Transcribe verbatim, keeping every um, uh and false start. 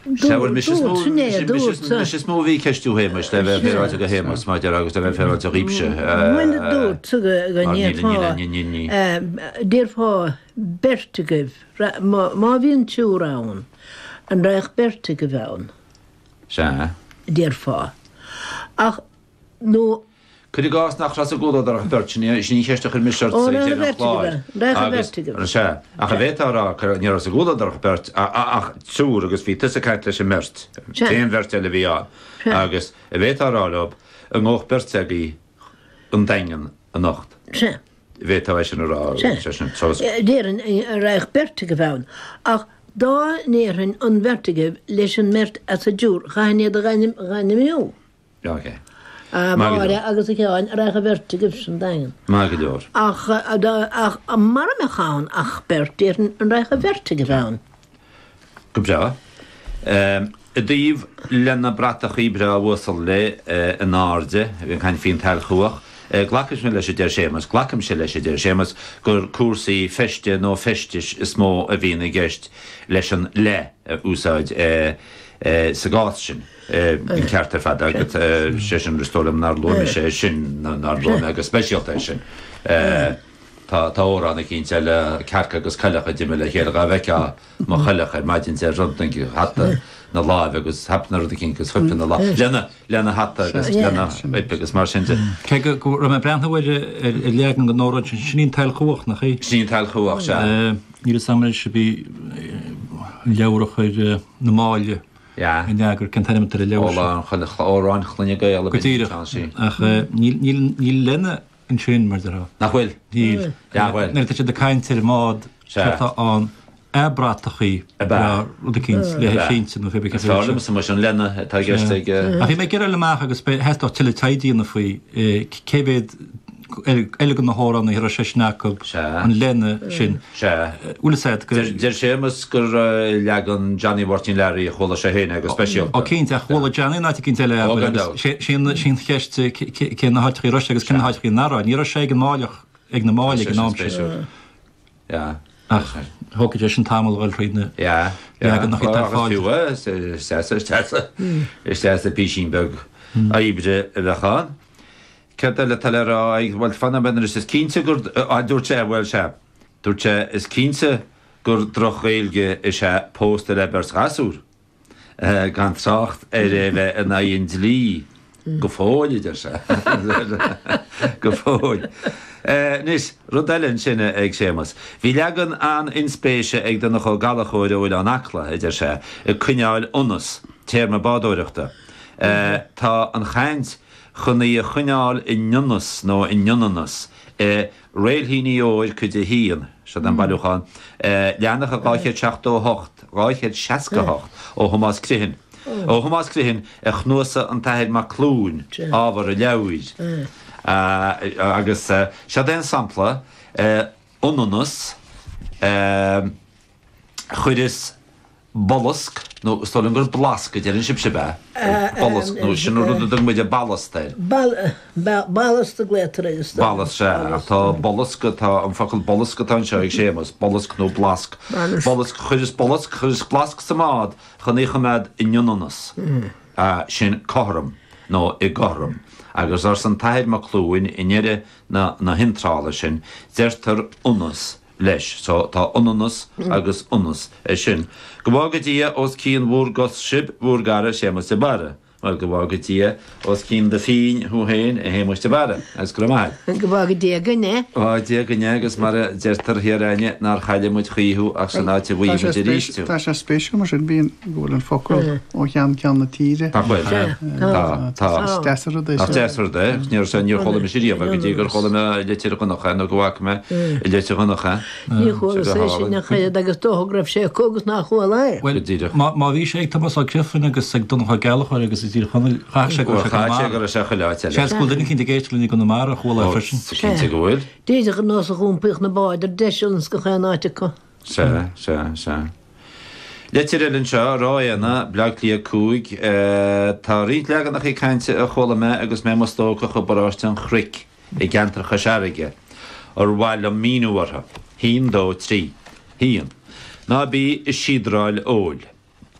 Sea, bhuel, mise is mó, Dúirt, sin é, mise, mise, dúirt. mise is mó a bhí ag ceistiú Shéamais, le bheith féaráilte go Shéamas, mar deir agus le bheith féaráilte dhaoibhse. Bhuel, dúirt go go Mar níl, ndéarfá, níl, níl, níl. eh, déarfá beirt agaibh, ra- má má bhíonn triúr ann, an raghadh beirt agaibh ann, Sea. déarfá. Ach nó Cuir i gcás nach raibh sa gcomhluadar ach beirt, sin í sin í an cheist a chuir mise ort Ó, ag raibh deireadh an beirt chláir. agaibh, raibh Agus- beirt agaibh. Sea, ach a bheith á rá, cur- ní raibh sa gcomhluadar ach beirt, a- a- ach triúr agus bhí tusa ag caint leis an mbeirt. Sea. Aon bheirt eile a bhí ann. Sea. Agus a bheith á rá leo, an ngabhadh beirt agaibh an Daingean anocht. Sea. A bheith á sin a rá, Sea. sé sin, so- Eh, Déarfainn eh, raghadh beirt agaibh ann. Ach dá ndéarfainn an bheirt agaibh leis an mbeirt as an dtriúr, chaithfinn iad a ghainm- ghainmiú. Ja, ok. A Maith go Máire leor. agus a Sheáin, raghadh an bheirt agaibh san Daingean. Maith go leor. Ach, eh, dá- ach mura mbeadh ann ach beirt, déarfainn an raghadh an bheirt agaibh ann. Go breá. Um, I dtaobh lena bratachaí breá uasal le uh, in airde, bhí an caint faoin tsailchuach, uh, glacaim leis a deir Séamus, glacaimse leis a deir Séamus gur cúrsaí feiste nó feistis is mó a bhíonn i gceist leis an le a úsáid uh, uh, sa gcás sin. Uh, an ceart ar fad agat uh, sé sin is dóigh liom nár luaigh sé sin nár luaigh mé go speisialta é sin. Uh, Tá tá amhrán eicínt eile cearca agus coileach a d'imigh le chéile dá bhfeicfeá mo choileach ar maidin de rud hata na láimhe agus hap na rud eicínt agus fuip na láimhe lena lena hata agus Yeah. lena huip agus mar sin de. Cé go go raibh mé breathnú ar ar ar leagan den amhrán sin sin í an tsailchuach nach í. Sin tsailchuach sea. Eh, Níl a fhios agam sé bí leabhar a chuir na Máille Ja. in eagar cén t-ainm ar an leabhar sin. Amhrán Chloinne Gael Go díreach. Ach eh, níl níl níl lena ansin mar deirtear. Nach bhfuil? Níl. Ja, bhfuil. Nuair atá siad ag caint ar an mbád Sea. atá an a bratachaí A ba. rud eicínt le Ba. sínte nó fé Fearr liom mar sin lena atá i gceist ag Ach bhí mé ag iarraidh amach agus theastódh tuilleadh taighde a dhéanamh faoi eh, cé mhéad eile de na hamhráin a raibh sé sin acu Sea. an lena sin. Sea. Bhfuil said go Deir deir Séamus gur eh, leagan Johnny Mháirtín Learaí a chuala sé féin agus speisialta. Ó cinnte ach chuala Johnny ná cinnte eile Ó, gan agus dabht. sé- sin sin cheist cé na háiteacha a raibh sé agus cé na háiteacha nach raibh. Ní raibh sé ag an Máilleach ag na Máille ag an am sin. Spéisiúil. Ja. Ach thógfaidh sé sin tamall a dhul tríd na Ja. Leagan nach iad ar fáil. Fiú is deas is deas is deas písín beag oibre a bheith ann. Cad eile tá le rá ag bhfuil fanna ben is is cinnte gur a dúirt sé bhfuil sé. Dúirt sé is cinnte gur droch-Ghaeilge is ea pósta le beirt ghasúr. Eh, gan trácht ar é bheith in aghaidh an dlí go fóill deir sé. Go fóill. Eh, Anois rud eile ansin ag Séamus. Bhí leagan an-inspéise ag Donncha Ó Gallchóir ó Oileán Acla idir sé ag coinneáil ionas téarma bádóireachta. Eh, Tá an chaint chun í a choinneáil in ionas nó in ionannas eh, Réilthíní Óir cuid a haon se an bailiúchán leathanach a dhá chéad seachtó hocht, dhá chéad seasca hocht ó Thomás Criomhthain. Ó Thomás Criomhthain a chnuasach an tAthair Mac Clúin ábhar a leabhair. Agus seo é an sampla ionannas chuireas bollasc nó is dóigh liom gur blasc a deireann sibhse be bollasc nó sin rud a dtugann muid ballast air. Ballast a glaotar is Ballast sé ach tá bollasc tá an focal bollasc atá anseo ag Séamus, bollasc nó blasc. Bollasc chuireas bollasc chuireas blasc sa mbád chun í choimeád in ionannas. Sin cothrom nó i gcothrom. Agus arsa an tAthair Mac Clúin i ndeireadh na na hiontrála sin deirtear ionas leis, so tá ionannas agus ionas é sin. Go bhfága Dia os cionn bhur gcos sibh bhur gcara Séamus de Barra. Well go bhfága Dia os cionn do phinn thú féin a Shéamuis de Barra, agus go raibh maith. Go bhfága Dia againne. Bhfága Dia againne agus mar a deirtear thiar againne nár chaille muid choíche thú ach san áit a bhfaighidh muid arís thú. Tá sé spéisiúil mar sin bíonn go bhfuil an focal ó cheann ceann na tíre. Tá bhfuil. Tá tá. Is deas an rud é Ach sin. deas rud é, níor sé níor chuala mise riamh go dtí gur chuala mé i Leitir Dhonncha nó go bhfaca mé i Leitir Dhonncha. Ní chuala Sé go sé sin hálainn. a chaid agus dócha go raibh sé acu agus nár chuala é. Well, Go díreach. má má bhí sé ag Tomás Ó Criomhthain agus ag Donncha Ó Gallchóir agus i dTír Chonaill chaith sé go Chaith sé go raibh sé chuile áit eile. Seans go bhfuil duine eicínt ag éisteacht linn i gConamara a chuala é freisin. Cinnte go bhfuil. D'fhéadfadh an nós a dh'iompaíodh na báid ar deiseal ins gach aon áit acu. Sea, sea, sea. Litir eile anseo, Ráth Éanna, Baile Átha Cliath cúig, tá roinnt leaganacha cainte a chuala mé agus mé i mo stócach i bparóiste an Chnoic i gceantar Chois Fharraige, ar mhaith liom míniú orthu. Haon, dó, trí. Haon. Ná bí i síodráil óil.